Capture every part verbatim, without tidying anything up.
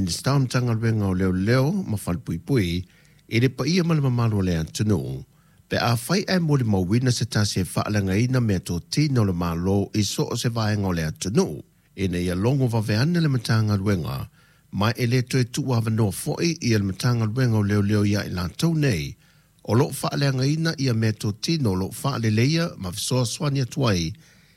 Minisita o Matagaluega o Leoleo ma Falepuipui i le paia ma le mamalu o le atunuu, pe afai ae molimauina se tasi e faaleagaina meatotino a le Malo i so o se vaega o le atunuu, ina ia logo vave ane le Matagaluega, ma e le toe tuuavanoa foi ia le Matagaluega o Leoleo ia i latou nei o lo o faaleagaina ia meatotino o lo o faaleleia ma fesoasoani atu ai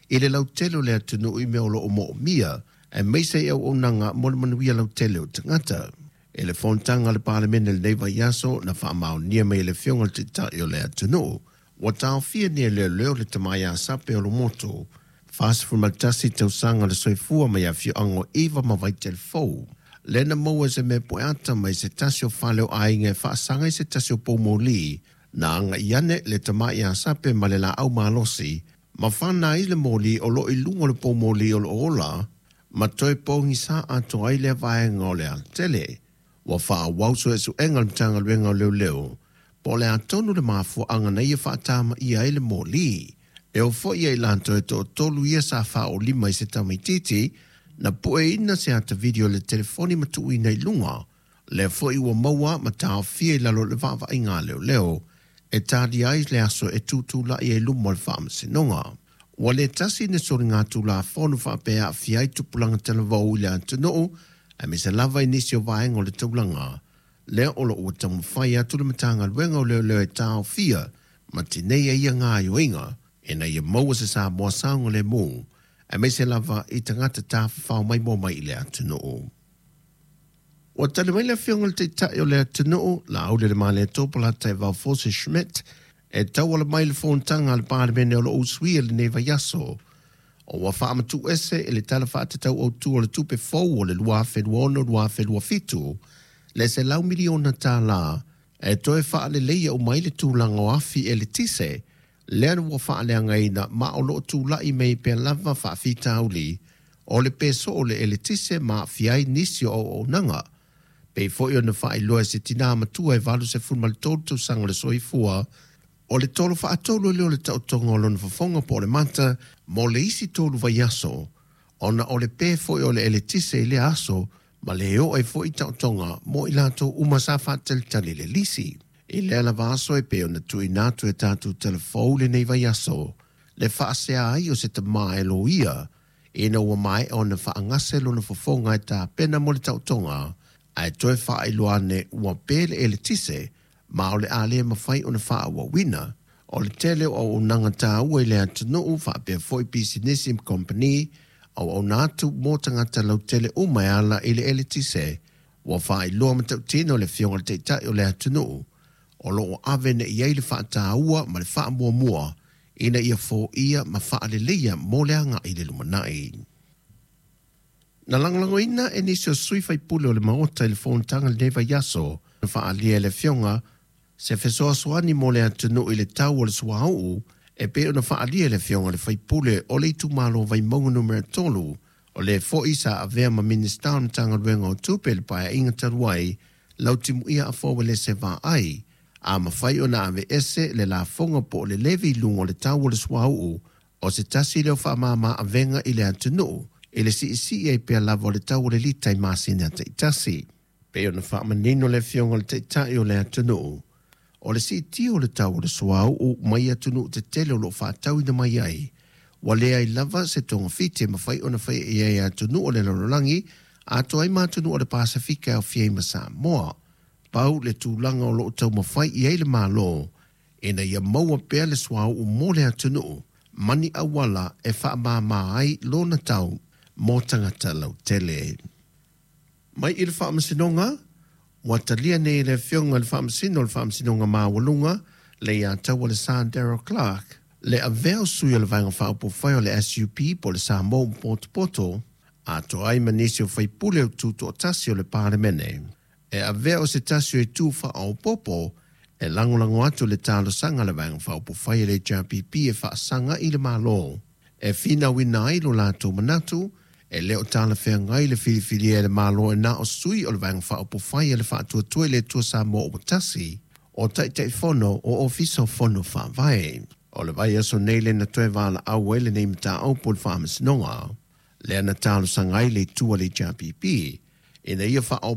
i le lautele o le atunuu i mea o lo o moomia, aemaise i auaunaga mo le manuia lautele o tagata. I le fonotaga a le Palemene i lenei vaiaso na faamaonia mai e le Afioga i le Taitai o le atunuu, ua taofia nei e leoleo le tama ia Sape Olomotu, fasefulu ma tasi tausaga le soifua mai afioaga o Iva ma Vaitelefou, lea na maua e se mea pueata mai se tasi o fale o aiga e faasaga i se tasi o poumoli, na agai ane le tama ia Sape ma le laau malosi, ma fana ai le moli o lo o i luga o le poumoli o lo o ola, ma toe pogisa atoa ai lea vaega o le alatele. Ua faaauau suesuega a le Matagaluega o Leoleo, po o le a tonu le mafuaaga na ia faatamaia ai le moli. E oo foi ia i latou e toatolu ia sa faaolima i se tamaitiiti, na pueina se ata video i le telefoni ma tuuina i luga, lea foi ua maua ma taofia i lalo o le vaavaaiga a leoleo, e talia ai le aso e tutulai ai luma o le faamasinoga. Ua le tasi ni soligatulafono faapea e aafia ai tupulaga talavou i le atunuu, aemaise lava i nisi o vaega o le taulaga, lea o lo o ua taumafai atu le Matagaluega o Leoleo e taofia ma tineia ia gaoioiga, ina ia maua se Samoa saogalemu, aemaise lava i tagata tafafao maimoa mai i le atunuu. Ua tali mai le Afioga i le Taitai o le atunuu, Laaulialemalietoa Polataivao Fosi Schmidt, e tauala mai i le fonotaga a le Palemene o lo o usuia i lenei vaiaso, o ua faamatuuese i le Tala Faatatau Autu o le Tupe fou o le lua afe luaono lua afe luafitu le selau miliona tala e toe faaleleia uma ai le tulaga o afi eletise lea ua faaleagaina ma o lo o tulai mai pea lava faafitauli o le pe soo o le eletise ma aafia ai nisi o auaunaga. Pei foi ona faailoa e se tinā matua e valu ma tolu tausaga le soifua, o le tolo faatolu lea o le taotoga o lona fofoga po o le mata mo le isi tolu vaiaso, ona o le pe foi o le eletise i lea aso ma le oo ai foi taotoga mo i latou uma sa faatalitali le lisi. I lea lava aso e pei ona tuuina atu e tatou talafou lenei vaiaso, le faasea ai o se tama e loia, ina ua maea ona faagase lona fofoga e tapena mo le taotoga, ae toe faailoa ane ua pe le eletise, ma o le a le mafai ona faaauauina. O le tele o auaunaga taua i le atunuu faapea foi pisinisi ma kompeni, auauna atu mo tagata lautele uma e ala i le eletise, ua faailoa matautino le Afioga i le Taitai o le atunuu, o lo o ave nei i ai le faataua ma le faamuamua ina ia foia ma faaleleia mo le agai i le lumanai. Na lagolagoina e nisi o sui faipule o le Maota i le fonotaga i lenei vaiaso, na faaalia e le Afioga se fesoasoani mo le atunuu i le tau o le suauu, e pei ona faaalia e le Afioga i le faipule o le itumalo Vaimauga numera tolu, o le foi sa avea ma Minisita o le Matagaluega o Tupe i le Paeaiga talu ai, Lautimuia Afoa Uelese Vaai, a mafai ona aveese le lafoga po o le levy i luga o le tau o le suauu, o se tasi lea o faamama avega i le atunuu, i le siisii ai pea lava o le tau o le lita i masina taitasi. Pei ona faamanino le Afioga i le Taitai o le atunuu, o le siitia o le tau o le suauu mai atunuu tetele o lo o faatauina mai ai, ua leai lava se togafiti e mafai ona faia i ai e atunuu o le lalolagi, atoa ai ma atunuu o le Pasefika e aofia ai ma Samoa. Pau le tulaga o lo o taumafai i ai le Malo, ina ia maua pea le suauu mo le atunuu, ma ni auala e faamama ai lona tau mo tagata lautele. Mai i le Faamasinoga, ua talia nei e le Afioga i le Faamasino o le Faamasinoga Maualuga, Leiataua Daryl Clarke, le avea o sui o le Vaega Faaupufai o le S U P po o le Samoa ma Potopoto, atoa ai ma nisi o faipule o tutoatasi o le Palemene. E avea o se tasi o itu faaopoopo e lagolago atu le talosaga a le Vaega Faaupufai a le H R P P e faasaga i le Malo, e finauina ai lo latou manatu, e le o talafeagai le filifilia e le Malo e na o sui o le Vaega Faaupufai a le Faatuatua i le Atua Samoa ua tasi, o Taitaifono o Ofisa o Fono Faavae. O le vaiaso nei le na toe valaau ai lenei mataupu i le Faamasinoga, lea na talosaga ai le itu a le H R P P, ina ia faaopoopo